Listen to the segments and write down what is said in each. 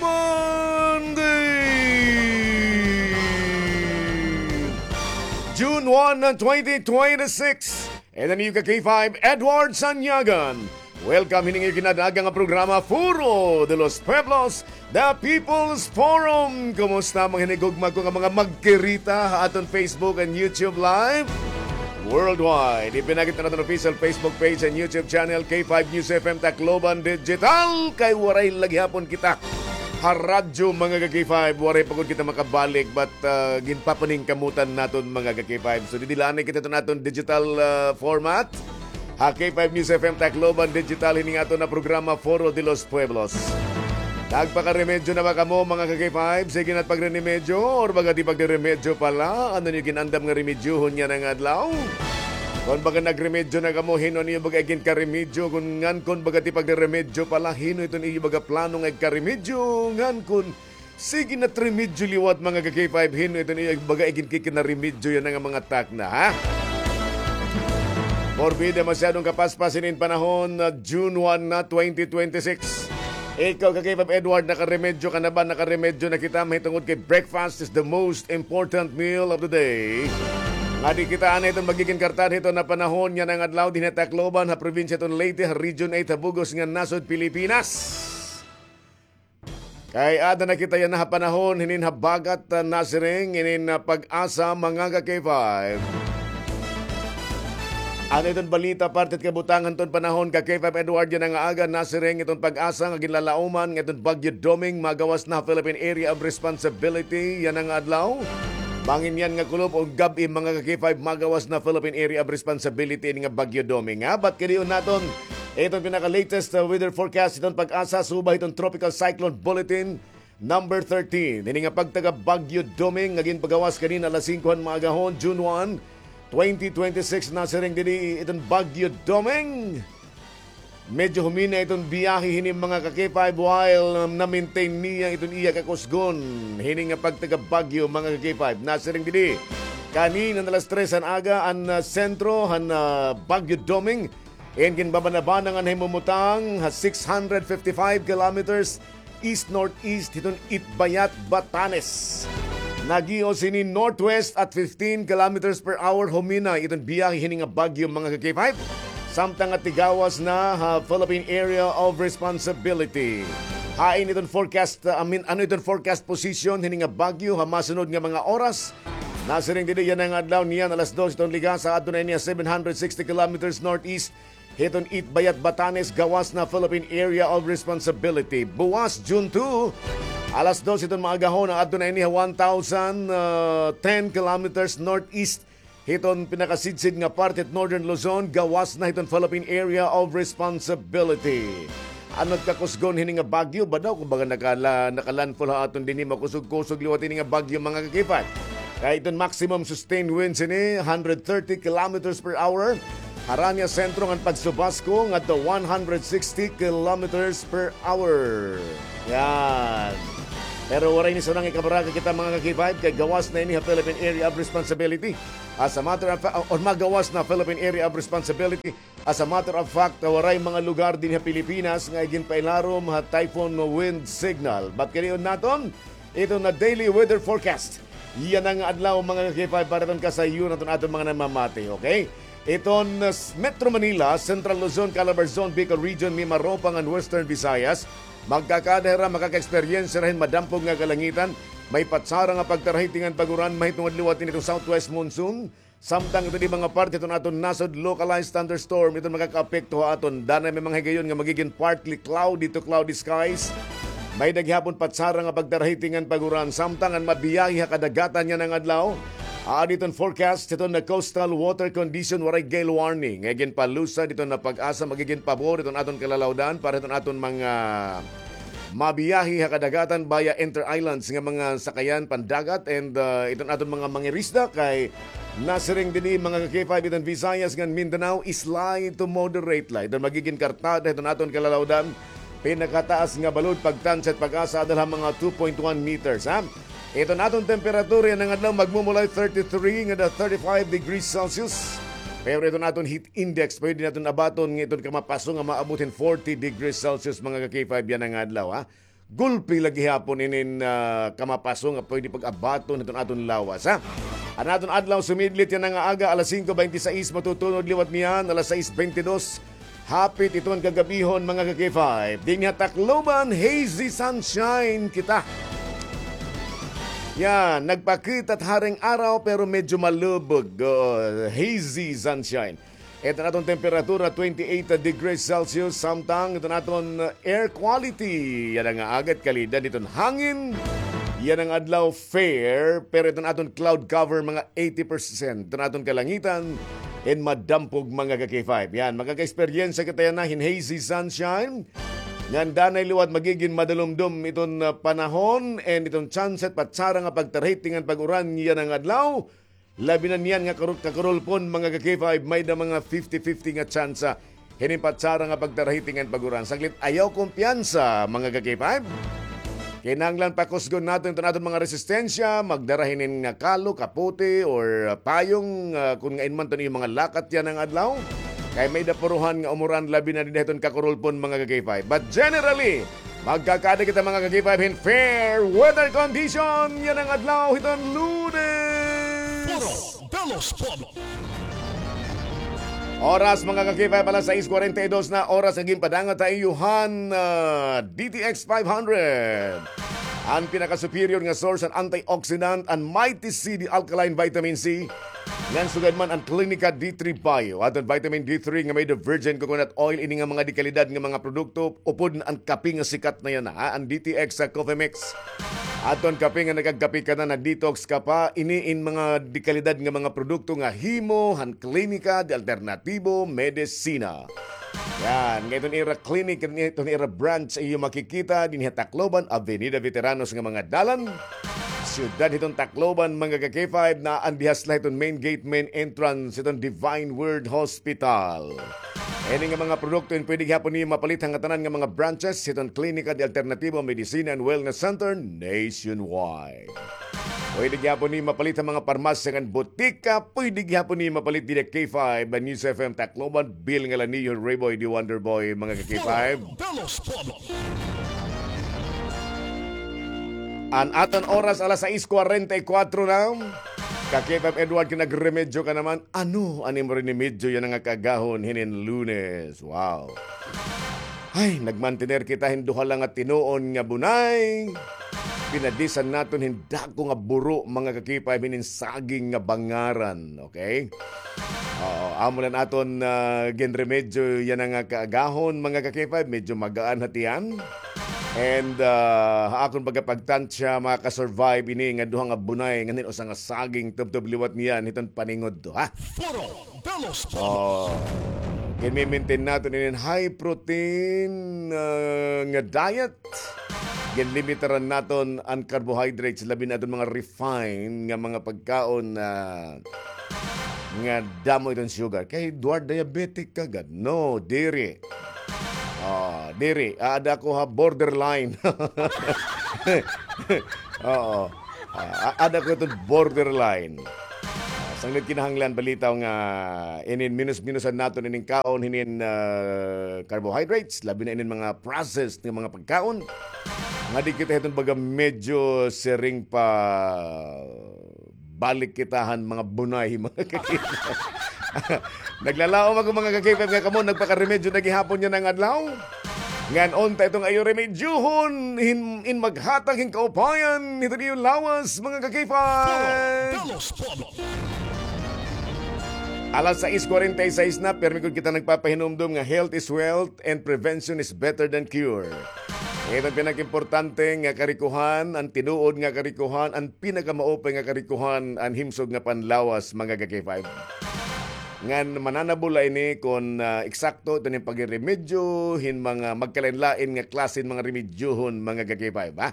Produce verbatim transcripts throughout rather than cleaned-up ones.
Monday, June one, twenty twenty-six. And the new K five, Edward Sanyagan. Welcome hini nga ginadaga nga programa, Foro de los Pueblos, The People's Forum. Kumusta mga hinigugma ko nga mga magkirita ha aton Facebook and YouTube Live? Worldwide. Ipinakita naton official Facebook page and YouTube channel, K five News F M Tacloban Digital. Kay waray la gihapon kita ha radyo, mga ka-K five. Waray pa gud kita makabalik, but, ah, ginpapaningkamutan naton, mga ka-K five. So, didi la anay kita hiton aton digital, ah, format. Ha K five News F M Tacloban Digital, hini nga aton nga programa, Foro de los Pueblos. Nagpakaremedyo na ba kamo, mga ka-K five? Sige na pagrenimedyo, or baga di pagrenimedyo pa la? Ano niyo ginandam nga remedyohon yana nga adlaw? Kon baga nagremedyo na kamo, hin-o an iyo baga iginkaremedyo? Kon ngan kon baga di pagrenimedyo pa la, hin-o iton iyo baga plano nga igkaremedyo? Ngan kon sige na tremedyo liwat, mga ka-K five, hin-o iton iyo baga iginkikinaremedyo yana nga mga takna, ha? Porbida, masyadong kapaspas hinin panahon, na June one na, twenty twenty-six. Ikaw, ka-K five Edward, nakaremedyo ka na ba? Nakaremedyo na kita, mahitungod kay breakfast is the most important meal of the day. Ngadi kita anay hiton magigin kartad hiton nga panahon yana nga adlaw dinhi ha Tacloban, ha probinsya hiton Leyte, ha Region eight, ha bug-os nga nasod Pilipinas. Kay ada na kita yana ha panahon hinin habagat, ah, nasiring hinin, ah, PAGASA, mga ka-K five. Ano iton balita, parte hit kabutangan hiton panahon, ka-K five Edward, yana nga aga, nasiring iton PAGASA nga ginlalauman nga iton Bagyo Doming magawas na ha Philippine Area of Responsibility yana nga adlaw. Bangin yana nga kulop o gab-i, mga ka-K five, magawas na Philippine Area of Responsibility ini nga Bagyo Doming, ha? But kadion naton iton pinaka-latest, uh, weather forecast hiton PAGASA, subay hiton Tropical Cyclone Bulletin number thirteen. Hini nga pagtaga Bagyo Doming nga ginpagawas kanina alas singko han maagahon, June one, twenty twenty-six, nasiring didi iton Bagyo Doming. Medyo humina iton biyahe hini, mga ka-K five, while, um, na-maintain niya iton iya kakusgon hini nga pagtaga Bagyo, mga ka-K five. Nasiring didi kanina alas tres han aga an, uh, sentro han, uh, Bagyo Doming. In ginbabanabana nga nahimumutang ha six hundred fifty-five kilometers east-northeast hiton Itbayat, Batanes. Nagios hini northwest at fifteen kilometers per hour, humina iton biyahe hini nga bagyo, mga ka-K five. Samtang nga tigawas na ha Philippine Area of Responsibility. Hain iton forecast, uh, I mean, ano iton forecast position hini nga bagyo ha masunod nga mga oras? Nasiring didi yana nga adlaw niyan alas dos iton Ligasa, adto na ini ha seven hundred sixty kilometers northeast hiton Itbayat, Batanes, gawas na Philippine Area of Responsibility. Buwas, June two, alas dos hiton maagahon, adto na ini ha one thousand ten kilometers northeast hiton pinakasidsid nga parte hit Northern Luzon, gawas na hiton Philippine Area of Responsibility. Ano it kakusgon hini nga bagyo? Ba daw, kumbaga, nakala-, nakalandfall ha aton dinhi, makusog-kusog liwat ini nga bagyo, mga ka-K five. Kay iton maximum sustained winds ini, hundred thirty kilometers per hour. Harani ha sentro ngan pagsubasko ngadto one hundred sixty kilometers per hour. Yan. Pero waray ni sunang ikabaraka kita, mga ka-K five, kay gawas na ini ha Philippine Area of Responsibility. As a matter of fa-, or magawas na Philippine Area of Responsibility. As a matter of fact, waray mga lugar dinhi ha Pilipinas nga iginpailarom ha typhoon wind signal. But kadion naton, iton nga daily weather forecast yana nga adlaw, mga ka-K five, para iton kasayon naton aton mga namamati, okay? Iton, uh, s-, Metro Manila, Central Luzon, Calabarzon, Bicol Region, Mimaropa ngan Western Visayas, magkakada hira, makaka-experience hira hin madampog nga kalangitan, may patsara nga pagtarahiting ngan pag-uran mahitungod liwat ini iton southwest monsoon. Samtang iton iba nga parte hiton aton nasod, localized thunderstorm iton makakaapekto ha aton. Danay may mga higayon nga magigin partly cloudy to cloudy skies. May-ada gihapon patsara nga pagtarahiting ngan pag-uran. Samtang an mabiyahe ha kadagatan yana nga adlaw, aadi iton forecast hiton nga coastal water condition, waray gale warning nga iginpalusad hiton nga PAGASA, magigin pabor hiton aton kalalawdan para hiton aton mga mabiyahe ha kadagatan via inter-islands nga mga sakayan pandagat and, uh, iton aton mga mangirisda kay nasiring dinhi, mga ka-K five, iton Visayas ngan Mindanao, slight to moderate la iton magigin kartada hiton aton kalalawdan. Pinakataas nga balod pagtansya hit PAGASA adal ha mga two point one meters, ha? Iton aton temperatura yana nga adlaw magmumulay thirty-three ngada thirty-five degrees Celsius. Pero iton aton heat index, pwede naton abaton nga iton kamapaso nga maabot hin forty degrees Celsius, mga ka-K five, yana nga adlaw, ha? gulpi la gihapon inin, ah, kamapaso nga pwede pag-abaton hiton aton lawas, ha? An aton adlaw sumidlit yana nga aga, alas singko bente sais matutunod liwat niyan, alas sais bente dos. Hapit iton kagabihon, mga ka-K five. Dinhi ha Tacloban, hazy sunshine kita. Yan, nagpakita it haring araw pero medyo malubog. Oo, hazy sunshine. Iton aton temperatura, twenty-eight degrees Celsius, samtang iton aton air quality yana nga aga, kalidad hiton hangin yana nga adlaw, fair, pero iton aton cloud cover, mga eighty percent. Iton aton kalangitan, in madampog, mga ka-K five. Yan, makaka-eksperyensya kita yana hin hazy sunshine. Ngan danay liwat magigin madalumdom iton, ah, panahon, and iton tsansa it patsara nga pagtarahitingan pag-uran yana nga adlaw. Labi na niyan nga karul-, kakurulpon, mga ka-K five, may-ada mga fifty fifty nga tsansa hinin patsara nga pagtarahitingan pag-uran. Saglit, ayaw kumpiyansa, mga ka-K five. Kinahanglan pakusgon naton iton aton mga resistensya, magdara hinin nga kalo, kapote, or, ah, payong, ah, kon ngain man iton iyo mga lakat yana nga adlaw. Kay may-ada puruhan nga umuran, labi na dinhi hiton kakurulpon, mga ka-K five. But generally, magkakaada kita, mga ka-K five, hin fair weather condition yana nga adlaw hiton Lunes. Puro de los Pueblos. Oras, mga ka-K five, alas sais kwarenta y dos na oras nga ginpadangat ha iyo han, ah, D T X five hundred. An pinaka-superior nga source han antioxidant, an Mighty C, the alkaline vitamin C. Ngan sugad man an Clinica D three Bio, aton vitamin D three nga may-ada virgin coconut oil, ini nga mga dekalidad nga mga produkto, upod na an kape nga sikat na yana, ha, an D T X sa Coffee Mix. Aton kape nga nakagkape ka na, na-detox ka pa, ini in mga dekalidad nga mga produkto nga himo han Klinika de Alternatibo Medicina. Yan, nga iton ira clinic, iton ira branch, iyo makikita dinhi ha Tacloban, Avenida Veteranos nga mga dalan. Siyudad hiton Tacloban, mga ka-K five, na an dihas la hiton main gate, main entrance hiton Divine Word Hospital. Ini nga mga produkto in pwede gihapon niyo mapalit ha ngatanan nga mga branches hiton Klinika de Alternatibo Medicina and Wellness Center nationwide. Pwede gihapon ni mapalit ha mga parmasya ngan botika, pwede gihapon ni mapalit dida K five, News F M Tacloban, Bill Ngalaniho, Rayboy the Wonder Boy, mga ka-K five. Puro de los Pueblos. An aton oras, alas sais kwarenta y kuwatro na. Ka-K five Edward, kay nagremedyo ka naman. Ano an imo remedyo yana nga kaagahon hinin Lunes? Wow. Ay, nagmantener kita hin duha la nga tinuon nga bunay. Pinadisan naton hin dako nga buro, mga ka-K five, hinin saging nga bangaran, okay? Oo, amo la an aton, ah, ginremedyo yana nga kaagahon, mga ka-K five, medyo magaan ha tiyan. And, ah, ha akon pagkapagtansya, makaka-survive ini nga duha nga bunay, ngan hin usa nga saging, tubtob liwat niyan hiton paningod to, ha? Puro de los Pueblos. Oh, ginmi-maintain naton inin high protein, ah, nga diet. Ginlimitaran naton an carbohydrates, labi na aton mga refined nga mga pagkaon na nga damo iton sugar. Kay Edward, diabetic ka gad? No, diri. Ah, diri. Aada ko ha borderline. Oo. Ah, a-, aada ko iton borderline. Ah, sanglit kinahanglan balitaw nga inin minus-minusan naton inin kaon, hinin, ah, carbohydrates, labi na inin mga processed nga mga pagkaon. Nga di kita hiton baga medyo siring pa balik kita han mga bunay, mga ka-K five. Naglalaom ako, mga ka-K five, nga kamo nagpakaremedyo na gihapon yana nga adlaw. Ngan unta iton iyo remedyohon hin, in maghatag hin kaupayan hiton iyo lawas, mga ka-K five. Puro de los Pueblos. Alas sais kwarenta y sais na, pirmi gud kita nagpapahinumdom nga health is wealth and prevention is better than cure. Ito an pinakaimportante nga karikohan, an tinuod nga karikohan, an pinakamaupay nga karikohan, an himsog nga panlawas, mga ka-K five. Ngan mananabol la ini kon, ah, eksakto ito nin pagreremedyo hin mga magkalain-lain nga klase hin mga remedyohon, mga ka-K five, ha?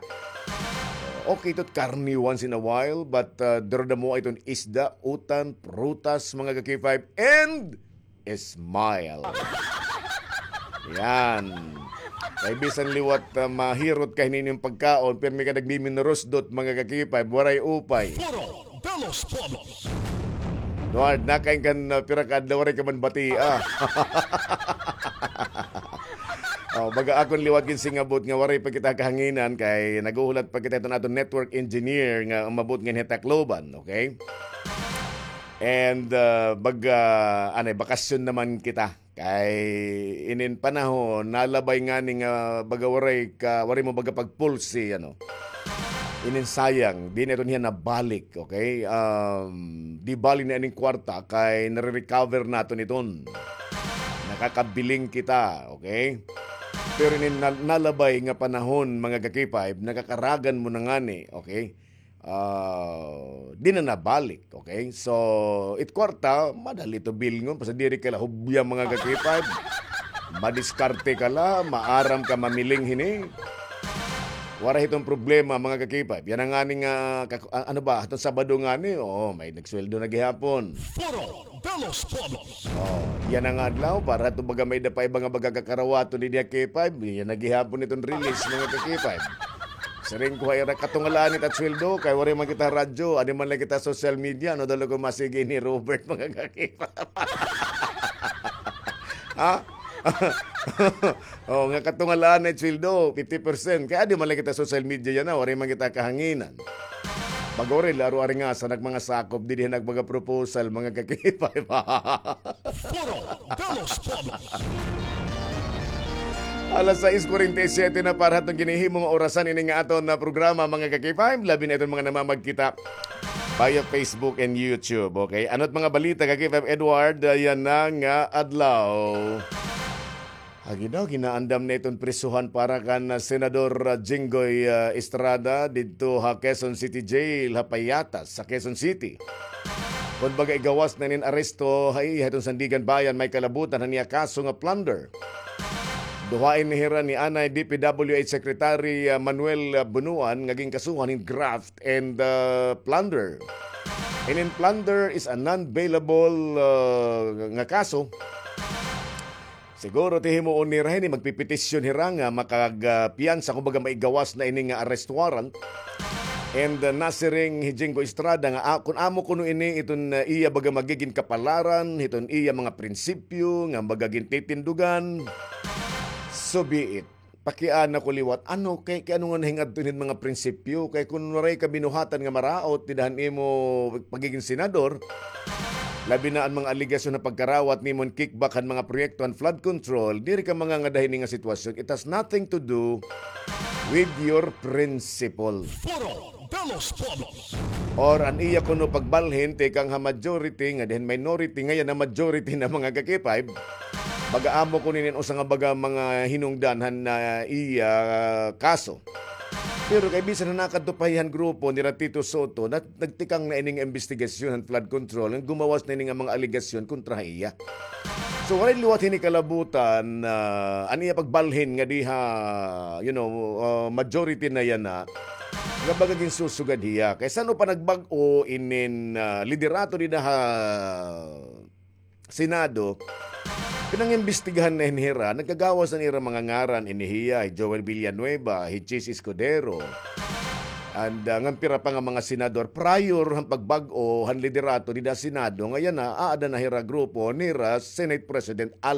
Okay, ito karne once in a while, but, ah, duro-damo iton isda, utan, prutas, mga ka-K five, and smile. Yan. Kay bisan liwat, ah, mahirot ka hinin imo pagkaon, pirmi ka nagmiminurusdot, mga ka-K five, waray upay. Puro de los Pueblos. Edward, nakain ka hin, ah, pira ka adlaw, waray ka man batia. Oh, baga akon liwat ginsingabot nga waray pa kita kahanginan kay naghuhulat pa kita iton aton network engineer nga umabot nganhi ha Tacloban, okay? And, ah, baga, anay, bakasyon naman kita. Kay inin panahon, nalabay ngani nga baga waray ka, waray mo baga pag-pulse, ano. Inin sayang, di na iton hiya nabalik, okay? Um, di bali na ining kwarta, kay nare-recover naton iton. Nakakabiling kita, okay? Pero inin nal-, nalabay nga panahon, mga ka-K five, nakakaragan mo na ngani, okay? Ah, di na nabalik, okay? So, it kwarta, madali to bilngon, basta diri ka la hubya, mga ka-K five. Madiskarte ka la, maaram ka mamiling hini. Waray hiton problema, mga ka-K five. Yana ngani nga, kak-, a-, ano ba, hiton Sabado ngani, oo, may nagsweldo na gihapon. Foro de los Pueblos. Oh, yana nga adlaw, para to baga may-ada pa iba nga baga kakarawaton dinhi ha K five, yana gihapon iton release, mga ka-K five. Siring ko ha ira, katungalaan it at sweldo, kay waray man kita radyo, adi man la kita social media, ano daw la ko masigi ni Robert, mga ka-K five. Ha? Oh, nga katungalaan na it sweldo, fifty percent. Kay adi man la kita social media yana, waray man kita kahanginan. Baga waray la aro ari nga sa nagmanga sakop, didi nagmanga proposal, mga ka-K five. Foro de los Pueblos. Alas sais kuwarenta y siyete na para hatong ginhihimo nga orasan ini nga aton na programa, mga ka-K five, labi na iton mga namamagkita via Facebook and YouTube, okay? Ano't mga balita, ka-K five Edward, ah, yana nga adlaw? Agi daw, ginaandam na iton prisuhan para kan, ah, Senador, ah, Jinggoy, ah, Estrada didto ha Quezon City Jail, ha Payatas, sa Quezon City. Kon baga igawas na inin aresto ha iya hiton Sandiganbayan, may kalabutan han iya kaso nga plunder. Duha ini hira ni anay D P W H Secretary, ah, Manuel, ah, Bunuan nga ginkasuhan hin graft and, ah, plunder. Inin plunder is a non-bailable, ah, nga kaso. Siguro ti himuon nira hini, magpepetisyon hira nga makag-, ah, piyansa, kumbaga maigawas na ini nga arrest warrant. And, ah, nasiring hi Jinggoy Estrada nga, ah, kun amo kuno ini iton, ah, iya baga magigin kapalaran, hiton iya mga prinsipyo nga baga gintitindugan, so be it. Pakiana ko liwat, ano kay, kay ano nga nahingadto hin mga prinsipyo? Kay kun waray ka binuhatan nga maraot dida han imo pagiging senador, labi na an mga alegasyon nga pagkarawat nimo hin kickback han mga proyekto han flood control, diri ka mangangada hini nga sitwasyon. It has nothing to do with your principle. Foro de los Pueblos. Or an iya kuno pagbalhin, tikang ha majority, ngadi han minority, ngayan na majority na, mga ka-K five. Baga amo kuno inin usa nga baga mga hinungdan han, ah, iya, ah, kaso. Pero kay bisan na nakadto pa hiya han grupo nira Tito Sotto, nat-, nagtikang na ini nga imbestigasyon han flood control, nga gumawas na ini nga mga alegasyon kontra ha iya. So, waray liwat hini kalabutan, ah, an iya pagbalhin nga diha, you know, ah, majority na yana, nga baga ginsusugad hiya. Kay san-o pa nagbag-o inin, ah, liderato dida ha Senado, pinangimbestigahan na hin hira, nagkagawas na an ira mga ngaran, ini hiya, hi Joel Villanueva, hi Chiz Escudero, and, ah, ngan pira pa nga mga senador, prior han pagbag-o han liderato dida Senado, nga yana, aada na hira grupo nira Senate President Alan